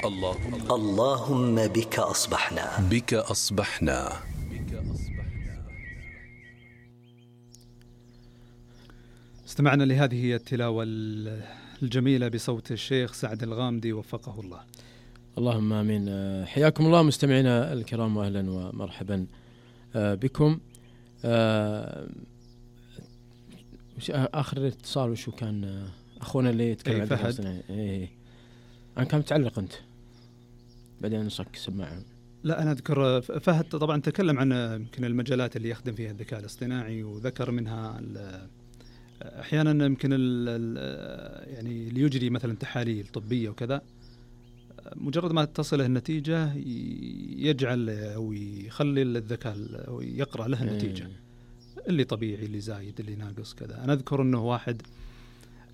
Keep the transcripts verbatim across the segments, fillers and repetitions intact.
اللهم اللهم بك أصبحنا بك أصبحنا. استمعنا لهذه التلاوة الجميلة بصوت الشيخ سعد الغامدي وفقه الله. اللهم آمين. حياكم الله مستمعينا الكرام وأهلا ومرحبا بكم. آخر اتصال وشو كان أخونا اللي يتكلم عن فهد؟ إيه أنا كان متعلق أنت بعدين نصك سماعه. لا أنا أذكر فهد طبعا تكلم عن يمكن المجالات اللي يخدم فيها الذكاء الاصطناعي، وذكر منها أحيانا يمكن يعني اللي يجري مثلا تحاليل طبية وكذا، مجرد ما تصله النتيجة يجعل أو يخلي الذكاء أو يقرأ له النتيجة اللي طبيعي اللي زايد اللي ناقص كذا. أنا أذكر أنه واحد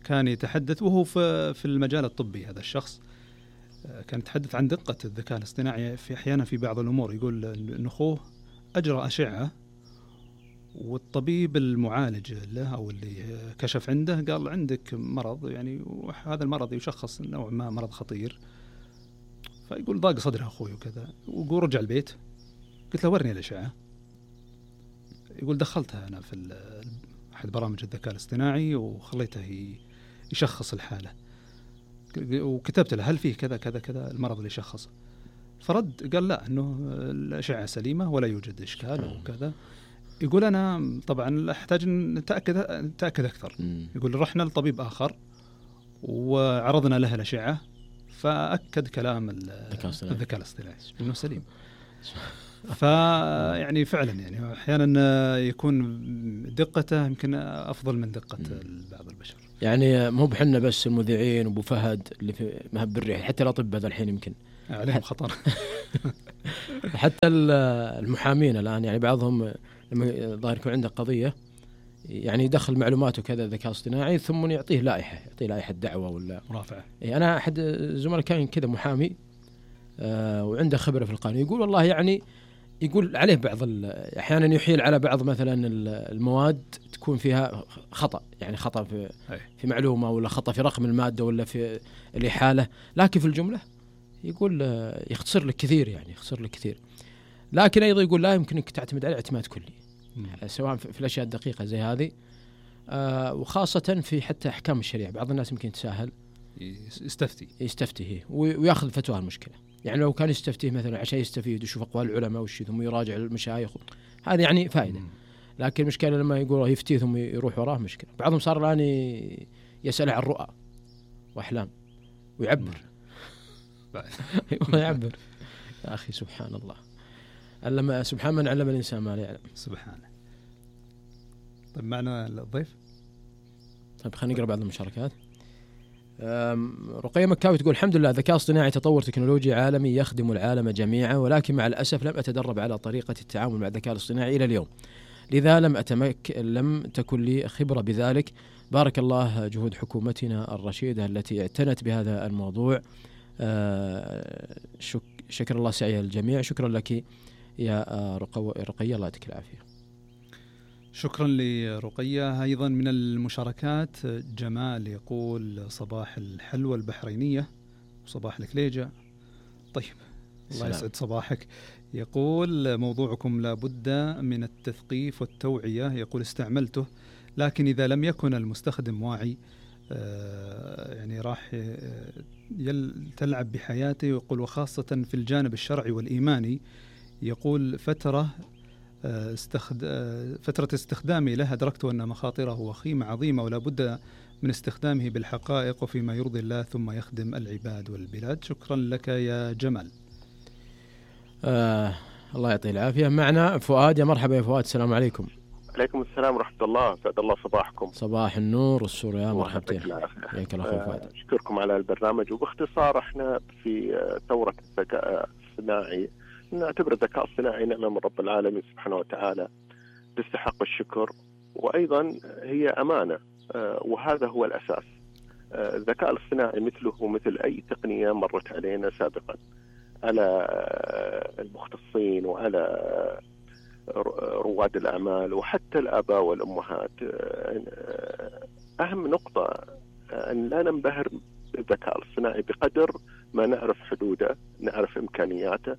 كان يتحدث وهو في في المجال الطبي، هذا الشخص كان يتحدث عن دقة الذكاء الاصطناعي في أحيانا في بعض الأمور. يقول إن أخوه أجرى أشعة والطبيب المعالج له أو اللي كشف عنده قال عندك مرض يعني، وهذا المرض يشخص نوع ما مرض خطير. فيقول ضاق صدره أخوي وكذا، ويقول رجع البيت قلت له ورني الأشعة. يقول دخلتها أنا في أحد برامج الذكاء الاصطناعي وخليته يشخص الحالة، وكتبت له هل فيه كذا كذا كذا المرض اللي شخصه. فرد قال لا، أنه الأشعة سليمة ولا يوجد إشكال وكذا. يقول أنا طبعا أحتاج أن نتأكد نتأكد أكثر. يقول رحنا لطبيب آخر وعرضنا له الأشعة فأكد كلام الذكاء الاصطناعي إنه سليم. فيعني فعلا يعني أحيانا يكون دقته يمكن أفضل من دقة بعض البشر. يعني مو بحنا بس المذيعين وابو فهد اللي في مهب الريح، حتى الأطباء هذا الحين يمكن عليهم خطر. حتى المحامين الآن يعني بعضهم لما ظاهر يكون عنده قضية يعني يدخل معلوماته كذا ذكاء اصطناعي ثم يعطيه لائحة، يعطيه لائحة دعوة ولا مرافعة. إيه أنا أحد زملاء كان كذا محامي آه وعنده خبرة في القانون، يقول والله يعني يقول عليه بعض أحيانا يحيل على بعض مثلا المواد تكون فيها خطأ، يعني خطأ في في معلومة ولا خطأ في رقم المادة ولا في الإحالة، لكن في الجملة يقول يختصر لك كثير، يعني يختصر لك كثير. لكن أيضا يقول لا يمكنك تعتمد عليه اعتماد كلي م. سواء في الأشياء الدقيقة زي هذه آه وخاصة في حتى أحكام الشريعة. بعض الناس يمكن يتساهل يستفتي يستفتيه ويأخذ فتوى المشكلة. يعني لو كان يستفتيه مثلا عشان يستفيد ويشوف أقوال العلماء والشيء ثم يراجع المشايخ، هذا يعني فائدة. م. لكن المشكلة لما يقول يفتيه ثم يروح وراه مشكلة. بعضهم صار الآن يسأل عن رؤى وأحلام ويعبر ويعبر. يا أخي سبحان الله، علم سبحان من علم الإنسان ما لا يعلم. سبحانه. طيب معنا الضيف. طيب خلينا نقرأ بعض المشاركات. رقية مكاوي تقول الحمد لله ذكاء اصطناعي تطور تكنولوجي عالمي يخدم العالم جميعا، ولكن مع الأسف لم أتدرب على طريقة التعامل مع الذكاء الاصطناعي إلى اليوم، لذا لم أتمك لم تكن لي خبرة بذلك. بارك الله جهود حكومتنا الرشيدة التي اعتنت بهذا الموضوع. شك شكر الله سعي الجميع. شكرا لك يا رقية، الله يعطيك العافية. شكرا لرقية. أيضا من المشاركات جمال يقول صباح الحلوى البحرينية وصباح الكليجة. طيب الله يسعد صباحك. يقول موضوعكم لابد من التثقيف والتوعية. يقول استعملته لكن إذا لم يكن المستخدم واعي آه يعني راح تلعب بحياته. يقول وخاصة في الجانب الشرعي والإيماني. يقول فترة استخد... فترة استخدامي له أدركت أن مخاطره وخيمة عظيمة ولا بد من استخدامه بالحقائق وفيما يرضي الله ثم يخدم العباد والبلاد. شكرا لك يا جمال. آه الله يعطيه العافية. معنا فؤاد. يا مرحبا يا فؤاد. السلام عليكم. عليكم السلام ورحمة الله. سعد الله صباحكم. صباح النور والسرور. يا مرحبا بك. أشكركم على البرنامج. وباختصار احنا في ثورة الذكاء الصناعي نعتبر الذكاء الصناعي نعمة من رب العالمين سبحانه وتعالى تستحق الشكر، وأيضا هي أمانة، وهذا هو الأساس. الذكاء الصناعي مثله مثل أي تقنية مرت علينا سابقا على المختصين وعلى رواد الأعمال وحتى الآباء والأمهات. أهم نقطة أن لا ننبهر بالذكاء الصناعي بقدر ما نعرف حدوده، نعرف إمكانياته.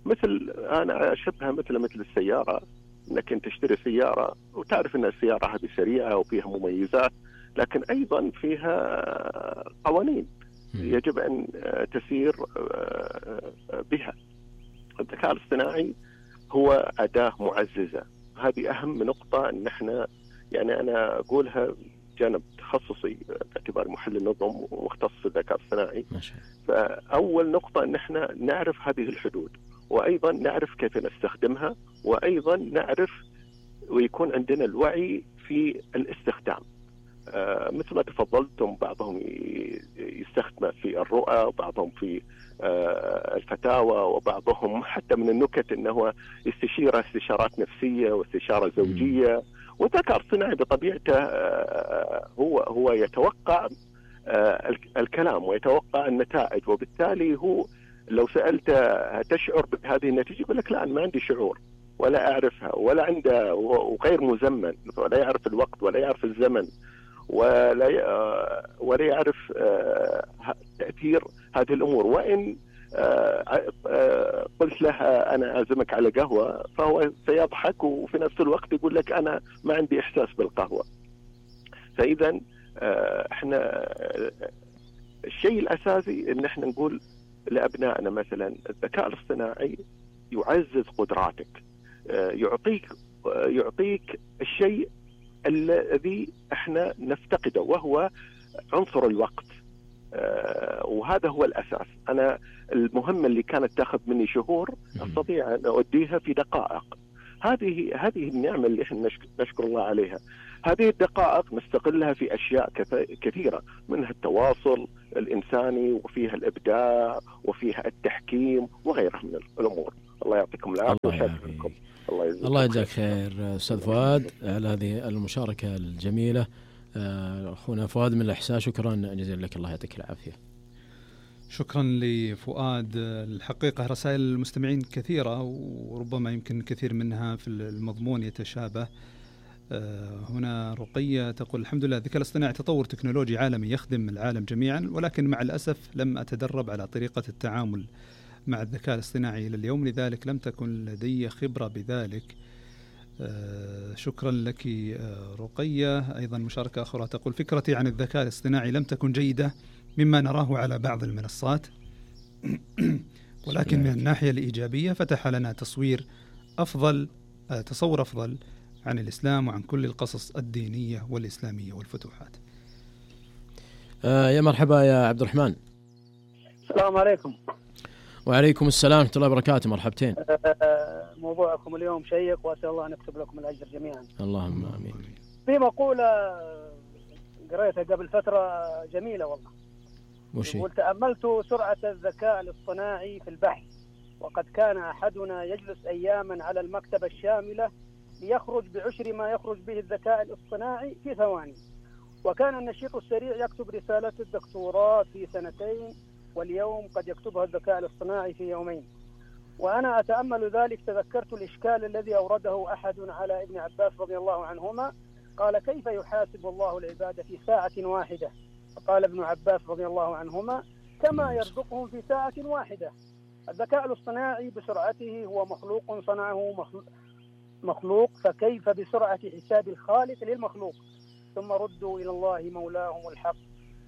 مثل أنا أشبهها مثل مثل السيارة، أنك أنت تشتري سيارة وتعرف أن السيارة هذه سريعة وفيها مميزات، لكن أيضا فيها قوانين يجب أن تسير بها. الذكاء الاصطناعي هو أداة معززة، هذه أهم نقطة. أن احنا يعني أنا أقولها جانب تخصصي باعتبار محلل نظم ومختص في الذكاء الاصطناعي. فأول نقطة أن احنا نعرف هذه الحدود، وأيضا نعرف كيف نستخدمها، وأيضا نعرف ويكون عندنا الوعي في الاستخدام. آه مثل ما تفضلتم، بعضهم يستخدم في الرؤى، وبعضهم في آه الفتاوى، وبعضهم حتى من النكت أنه يستشير استشارات نفسية واستشارة زوجية. والذكاء الاصطناعي بطبيعته آه هو هو يتوقع آه الكلام ويتوقع النتائج، وبالتالي هو لو سألته تشعر بهذه النتيجة يقول لك لا، أنا ما عندي شعور ولا أعرفها ولا عنده، وغير مزمن، ولا يعرف الوقت ولا يعرف الزمن ولا ولا يعرف تأثير هذه الأمور. وإن قلت لها أنا أعزمك على قهوة فهو سيضحك، وفي نفس الوقت يقول لك أنا ما عندي إحساس بالقهوة. فإذا إحنا الشيء الأساسي إن إحنا نقول لأبنائنا مثلا الذكاء الاصطناعي يعزز قدراتك، يعطيك يعطيك الشيء الذي احنا نفتقده وهو عنصر الوقت، وهذا هو الأساس. أنا المهمة اللي كانت تأخذ مني شهور أستطيع أن أؤديها في دقائق. هذه هذه النعمة اللي احنا نشكر الله عليها. هذه الدقائق نستغلها في أشياء كثيرة، منها التواصل الإنساني، وفيها الإبداع، وفيها التحكيم، وغيرها من الأمور. الله يعطيكم العافية ويشكركم. الله, الله يجزاك خير أستاذ فؤاد على هذه المشاركة الجميلة. أخونا فؤاد من الإحساء، شكرا جزيلا لك، الله يعطيك العافية. شكرا لفؤاد. الحقيقة رسائل المستمعين كثيرة، وربما يمكن كثير منها في المضمون يتشابه. هنا رقية تقول الحمد لله الذكاء الاصطناعي تطور تكنولوجي عالمي يخدم العالم جميعا، ولكن مع الأسف لم أتدرب على طريقة التعامل مع الذكاء الاصطناعي إلى اليوم، لذلك لم تكن لدي خبرة بذلك. آه شكرا لك آه رقية. أيضا مشاركة أخرى تقول فكرتي عن الذكاء الاصطناعي لم تكن جيدة مما نراه على بعض المنصات، ولكن من الناحية الإيجابية فتح لنا تصوير أفضل آه تصور أفضل عن الإسلام وعن كل القصص الدينية والإسلامية والفتوحات. آه يا مرحبا يا عبد الرحمن. السلام عليكم. وعليكم السلام ورحمة الله وبركاته. مرحبتين. موضوعكم اليوم شيق، وأسأل الله أن يكتب لكم الأجر جميعا. اللهم آمين. في مقولة قريتها قبل فترة جميلة والله، وشي؟ تأملت سرعة الذكاء الاصطناعي في البحث، وقد كان أحدنا يجلس أياما على المكتبة الشاملة ليخرج بعشر ما يخرج به الذكاء الاصطناعي في ثواني، وكان النشيط السريع يكتب رسالة الدكتوراه في سنتين، واليوم قد يكتبها الذكاء الاصطناعي في يومين. وأنا أتأمل ذلك تذكرت الإشكال الذي أورده أحد على ابن عباس رضي الله عنهما، قال كيف يحاسب الله العباد في ساعة واحدة؟ فقال ابن عباس رضي الله عنهما كما يرزقهم في ساعة واحدة. الذكاء الاصطناعي بسرعته هو مخلوق صنعه مخلوق، فكيف بسرعة حساب الخالق للمخلوق؟ ثم ردوا إلى الله مولاهم الحق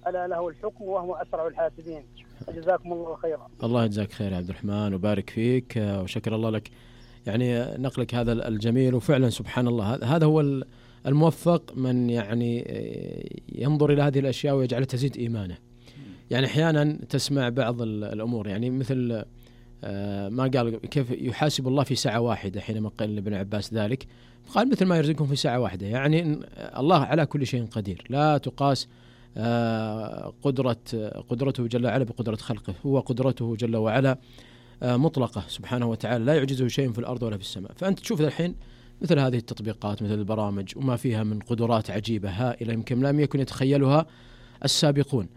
ألا له الحكم وهو أسرع الحاسبين. جزاكم الله خيرا. الله يجزاك خير يا عبد الرحمن وبارك فيك، وشكر الله لك يعني نقلك هذا الجميل. وفعلا سبحان الله هذا هو الموفق من يعني ينظر إلى هذه الأشياء ويجعلها تزيد إيمانه. يعني أحيانا تسمع بعض الأمور يعني مثل ما قال كيف يحاسب الله في ساعة واحدة حينما قال ابن عباس ذلك، قال مثل ما يرزقهم في ساعة واحدة. يعني الله على كل شيء قدير، لا تقاس قدرة قدرته جل وعلا بقدرة خلقه، هو قدرته جل وعلا مطلقة سبحانه وتعالى، لا يعجزه شيء في الأرض ولا في السماء. فأنت تشوف الحين مثل هذه التطبيقات مثل البرامج وما فيها من قدرات عجيبة هائلة يمكن لم يكن يتخيلها السابقون.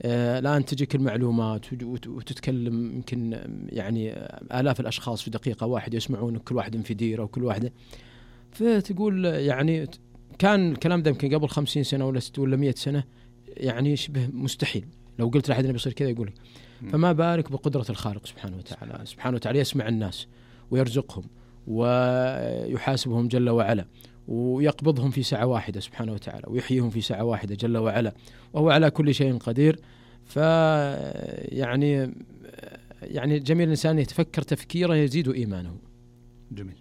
الآن تجيك المعلومات وتتكلم يمكن يعني آلاف الأشخاص في دقيقة واحدة يسمعون، كل واحد في ديرة وكل واحدة، فتقول يعني كان الكلام ده يمكن قبل خمسين سنة ولا ستة ولا مئة سنة يعني شبه مستحيل. لو قلت لأحد أنه بيصير كذا يقولك فما بارك بقدرة الخالق سبحانه وتعالى. سبحانه وتعالى يسمع الناس ويرزقهم ويحاسبهم جل وعلا، ويقبضهم في ساعة واحدة سبحانه وتعالى، ويحييهم في ساعة واحدة جل وعلا، وهو على كل شيء قدير. فيعني يعني جميل الإنسان يتفكر تفكيرا يزيد إيمانه. جميل.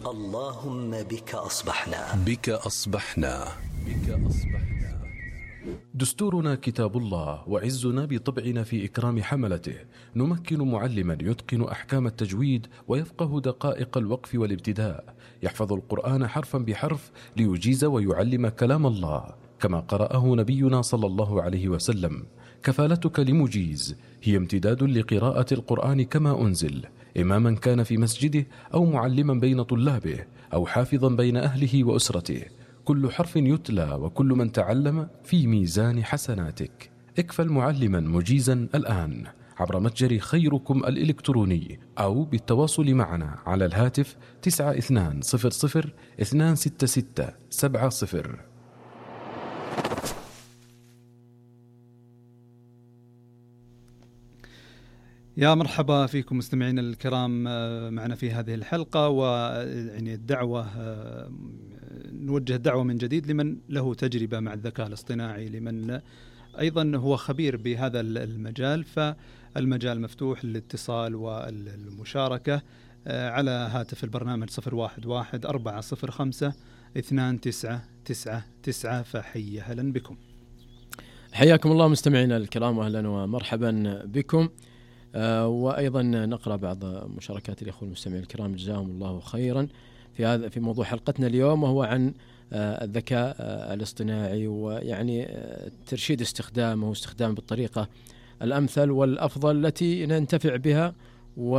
اللهم بك أصبحنا بك أصبحنا بك أصبحنا. دستورنا كتاب الله، وعزنا بطبعنا في إكرام حملته. نمكن معلما يتقن أحكام التجويد ويفقه دقائق الوقف والابتداء، يحفظ القرآن حرفا بحرف ليجيز ويعلم كلام الله كما قرأه نبينا صلى الله عليه وسلم. كفالتك لمجيز هي امتداد لقراءة القرآن كما أنزل، إماما كان في مسجده أو معلما بين طلابه أو حافظا بين أهله وأسرته. كل حرف يتلى وكل من تعلم في ميزان حسناتك. اكفل معلما مجيزا الآن عبر متجر خيركم الإلكتروني أو بالتواصل معنا على الهاتف تسعة اثنان صفر صفر اثنان ستة ستة سبعة صفر. يا مرحبا فيكم مستمعين الكرام معنا في هذه الحلقة، ويعني الدعوة نوجه دعوة من جديد لمن له تجربة مع الذكاء الاصطناعي، لمن أيضا هو خبير بهذا المجال، فالمجال مفتوح للاتصال والمشاركة على هاتف البرنامج صفر واحد واحد أربعة صفر خمسة اثنان تسعة تسعة تسعة. فحيا أهلا بكم. حياكم الله مستمعينا الكرام، وأهلا ومرحبا بكم. آه وأيضا نقرأ بعض مشاركات الأخوة المستمعين الكرام جزاهم الله خيرا في هذا في موضوع حلقتنا اليوم، وهو عن آه الذكاء آه الاصطناعي، ويعني آه ترشيد استخدامه واستخدامه بالطريقة الأمثل والأفضل التي ننتفع بها و